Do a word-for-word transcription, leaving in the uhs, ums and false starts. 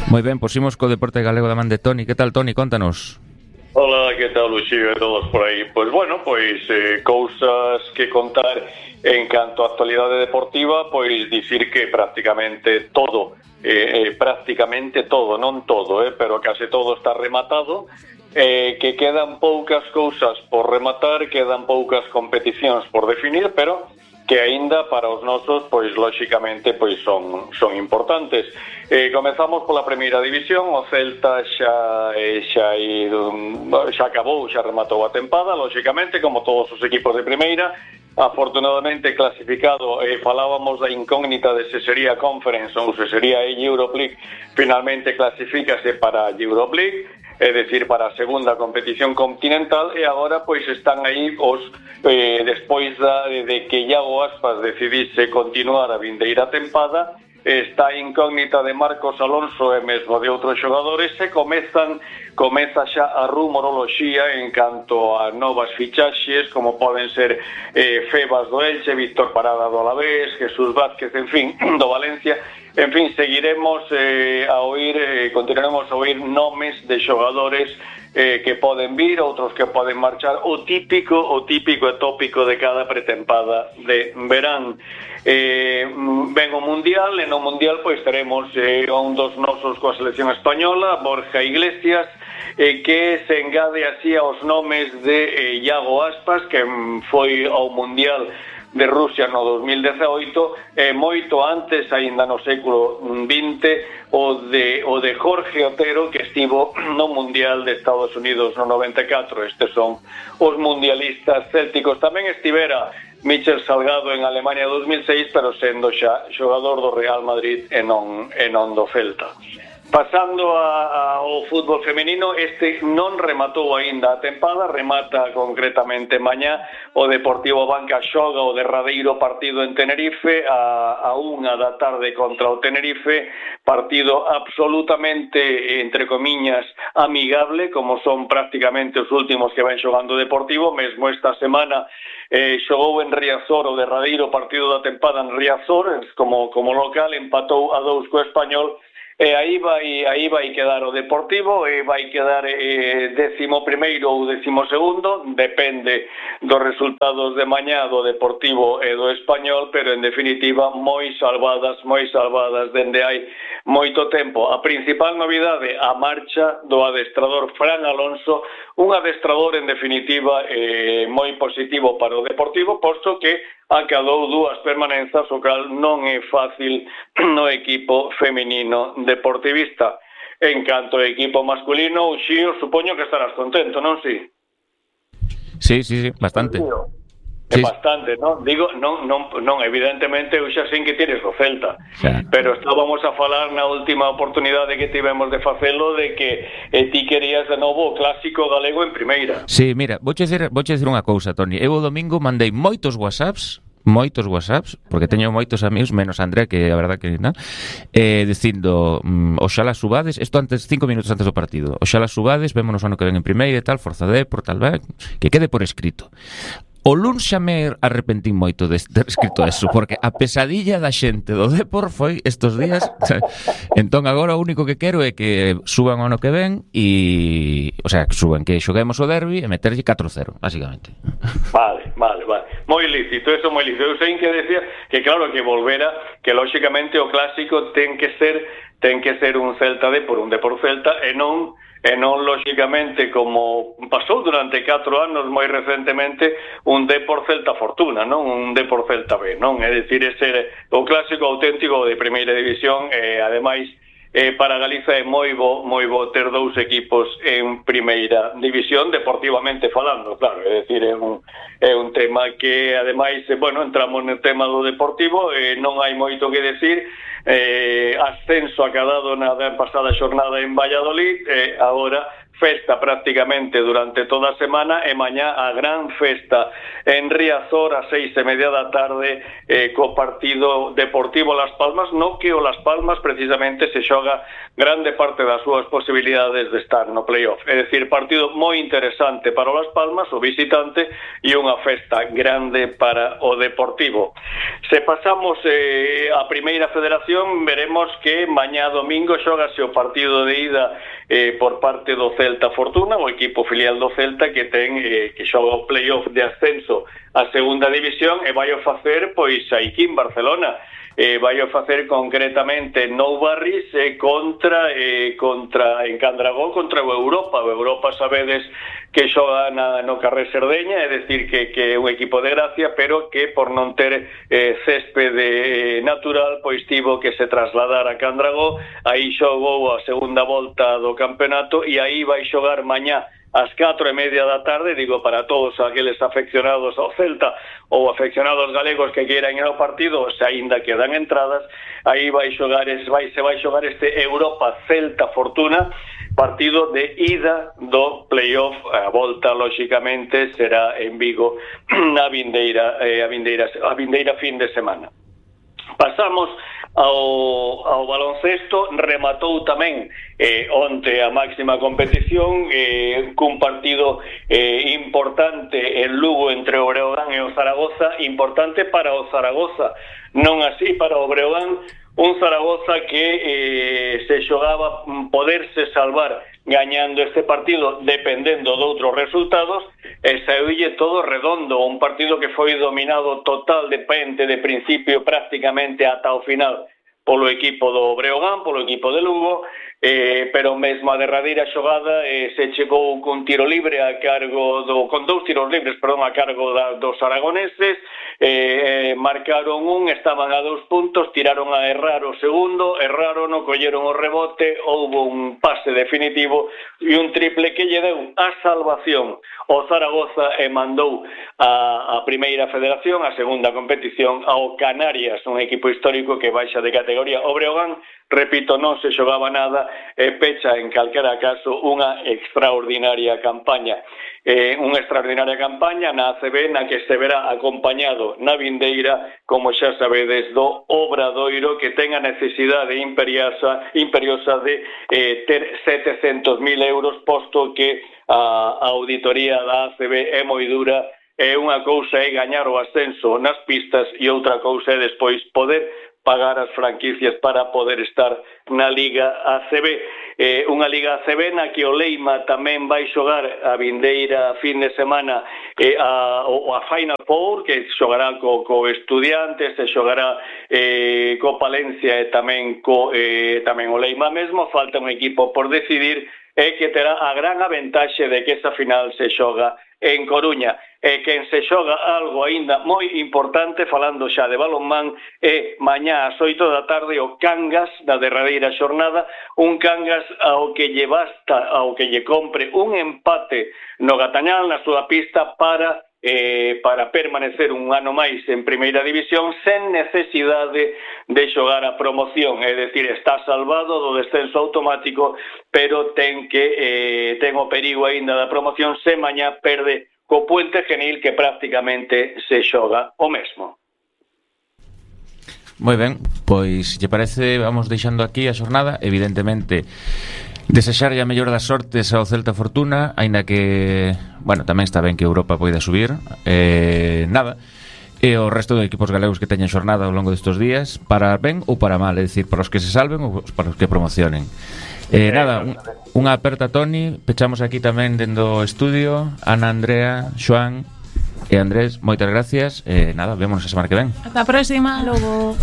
Moi ben, pois imos co deporte galego da man de Toni. Que tal, Toni? Contanos. Hola, que tal, Luxío e todos por aí? Pois bueno, pois eh, cousas que contar en canto a actualidade deportiva, pois dicir que prácticamente todo, eh, eh, prácticamente todo, non todo, eh, pero case todo está rematado, eh, que quedan poucas cousas por rematar, quedan poucas competicións por definir, pero que aínda para os nosos, pois lóxicamente, pois son son importantes. Eh, comezamos pola primeira división. O Celta xa eh, xa xa acabou, xa rematou a tempada, lóxicamente, como todos os equipos de primeira. Afortunadamente clasificado, eh, falábamos da incógnita de se sería Conference ou se sería a Europe League. Finalmente clasifícase para a Europe League, é dicir, para a segunda competición continental, e agora pois están aí os eh, despois da, de que Iago Aspas decidise continuar a vindeira tempada. Está a incógnita de Marcos Alonso e mesmo de outros xogadores, e comezan comeza xa a rumoroloxía en canto a novas fichaxes, como poden ser eh, Febas do Elche, Víctor Parada do Alavés, Jesús Vázquez, en fin, do Valencia. En fin, seguiremos eh, a oír, eh, continuaremos a oír nomes de xogadores eh, que poden vir, outros que poden marchar, o típico, o típico e tópico de cada pretempada de verán. Eh, ven o Mundial, e no Mundial pois teremos eh, un dos nosos coa selección española, Borja Iglesias, eh, que se engade así aos nomes de eh, Iago Aspas, que foi ao Mundial de Rusia no dos mil dezaoito, e eh, moito antes, aínda no século vinte, o de, o de Jorge Otero, que estivo no Mundial de Estados Unidos no noventa e catro. Estes son os mundialistas célticos. Tamén estivera Michel Salgado en Alemania dos mil seis, pero sendo xa xogador do Real Madrid e non, e non do Celta. Pasando a, ao fútbol femenino, este non rematou aínda a tempada, remata concretamente mañá. O Deportivo Banca xoga o derradeiro partido en Tenerife a, a unha da tarde contra o Tenerife, partido absolutamente, entre comiñas, amigable, como son prácticamente os últimos que ven xogando o Deportivo. Mesmo esta semana eh, xogou en Riazor o derradeiro partido da tempada en Riazor, como, como local, empatou a dous co Español. E aí vai, aí vai quedar o Deportivo, e vai quedar eh, décimo primeiro ou décimo segundo, depende dos resultados de mañá do Deportivo e do Español, pero en definitiva moi salvadas, moi salvadas dende hai moito tempo. A principal novidade, a marcha do adestrador Fran Alonso, un adestrador en definitiva eh, moi positivo para o Deportivo, posto que acadou dúas permanenzas, o cal non é fácil no equipo feminino deportivista. En canto ao equipo masculino, Uxío, supoño que estarás contento, non si? Sí, sí, sí, bastante. É sí. Bastante, non? Digo, non, non, non, evidentemente eu xa sei que tires o Celta, xa. Pero estábamos a falar na última oportunidade que tivemos de facelo de que eh, ti querías de novo o clásico galego en primeira. Sí, mira, vouche dizer, vouche dizer unha cousa, Toni. Eu o domingo mandei moitos WhatsApps, moitos WhatsApps, porque teño moitos amigos, menos André, que a verdad que non, eh, dicindo, mm, oxala subades, isto antes, cinco minutos antes do partido, oxala subades, vémonos ano que ven en primeira e tal, forza de, por tal vez, que quede por escrito. O luns xa me arrepentín moito de ter escrito eso, porque a pesadilla da xente do Depor foi estos días. Entón agora o único que quero é que suban o ano que ven e, o sea, que suban, que xoguemos o derbi e meterlle catro cero, basicamente. Vale, vale, vale. Moi lícito, eso moi lícito. Eu sei que decía que claro que volvera, que lóxicamente o clásico ten que ser ten que ser un Celta de por un de por Celta e non e non lóxicamente como pasou durante catro anos moi recentemente un D por Celta Fortuna, non un D por Celta B, non? É dicir, ese o clásico auténtico de primeira división, e ademais eh, para Galiza é moi bo, moi bo ter dous equipos en primeira división, deportivamente falando, claro, é dicir, é un, é un tema que ademais, bueno, entramos no tema do deportivo, e eh, non hai moito que decir. Eh, ascenso acadado na pasada xornada en Valladolid, eh, agora festa prácticamente durante toda a semana, e mañá a gran festa en Riazor a seis e media da tarde eh, co partido Deportivo Las Palmas, no que o Las Palmas precisamente se xoga grande parte das súas posibilidades de estar no playoff. É dicir, partido moi interesante para o Las Palmas, o visitante, e unha festa grande para o Deportivo. Se pasamos eh, a Primeira Federación, veremos menos que mañá domingo xógase o partido de ida eh, por parte do Celta Fortuna, o equipo filial do Celta que ten eh, que xoga o playoff de ascenso a segunda división e vai a facer pois aquí en Barcelona. Eh, vai a facer concretamente Nou Barris eh, contra eh, contra en Candragó contra o Europa. O Europa sabedes que xoga na, no Carrer Cerdeña, é dicir que, que é un equipo de gracia, pero que por non ter eh, céspede natural, pois tivo que se trasladar a Candragó. Aí xogou a segunda volta do campeonato e aí vai xogar mañá ás catro e media da tarde, digo, para todos aqueles afeccionados ao Celta ou afeccionados galegos que queiran ir ao partido, se aínda quedan entradas, aí vai xogar, vai, se vai xogar este Europa Celta Fortuna, partido de ida do playoff. A volta, lóxicamente, será en Vigo na vindeira, eh, a vindeira, a vindeira fin de semana. Pasamos ao, ao baloncesto. Rematou tamén eh, onte a máxima competición eh, cun partido eh, importante en Lugo entre o Breogán e o Zaragoza, importante para o Zaragoza, non así para o Breogán, un Zaragoza que eh, se xogaba poderse salvar gañando este partido dependendo de outros resultados, e saíulle todo redondo, un partido que foi dominado total de pente de principio prácticamente ata o final polo equipo do Breogán, polo equipo de Lugo, eh, pero mesmo a derradeira xogada eh, se chegou cun tiro libre a cargo do, con dous tiros libres, perdón, a cargo da, dos aragoneses, eh, eh, marcaron un, estaban a dous puntos, tiraron a errar o segundo, erraron, o colleron o rebote, houve un pase definitivo e un triple que lle deu a salvación o Zaragoza e mandou a, a primeira federación, a segunda competición, ao Canarias, un equipo histórico que baixa de categoría. O Breogán, repito, non se xogaba nada e pecha en calquera caso unha extraordinaria campaña. Eh, unha extraordinaria campaña na A C B na que se verá acompañado na vindeira, como xa sabedes, do Obradoiro, que ten a necesidade imperiosa, imperiosa de eh, ter setecentos mil euros, posto que a, a auditoría da A C B é moi dura, e unha cousa é gañar o ascenso nas pistas e outra cousa é despois poder pagar as franquicias para poder estar na Liga A C B. Eh, unha Liga A C B na que o Leima tamén vai xogar a vindeira fin de semana eh, a, a Final Four, que xogará co, co Estudiantes, se xogará eh, co Palencia e tamén, co, eh, tamén o Leima mesmo. Falta un equipo por decidir, e que terá a gran aventaxe de que esa final se xoga en Coruña, e quen se xoga algo aínda moi importante, falando xa de balonmán, é mañá ás oito da tarde o Cangas da derradeira xornada, un Cangas ao que lle basta, ao que lle compre un empate no Gatañal, na súa pista, para eh, para permanecer un ano máis en primeira división sen necesidade de xogar a promoción, é dicir, está salvado do descenso automático, pero ten que eh, ten o perigo aínda da promoción se mañá perde co Puente Genil, que prácticamente se xoga o mesmo. Moi ben, pois, lle parece, vamos deixando aquí a xornada. Evidentemente, desexarlle a mellor das sortes ao Celta Fortuna, aínda que, bueno, tamén está ben que Europa poida subir, eh, nada, e o resto de equipos galegos que teñen xornada ao longo destes días, para ben ou para mal, é dicir, para os que se salven ou para os que promocionen. Eh, nada, un, unha aperta, Toni. Pechamos aquí tamén dentro do estudio. Ana, Andrea, Xoán e Andrés, moitas gracias. Eh, nada, vémonos a semana que ven. Ata a próxima. Logo.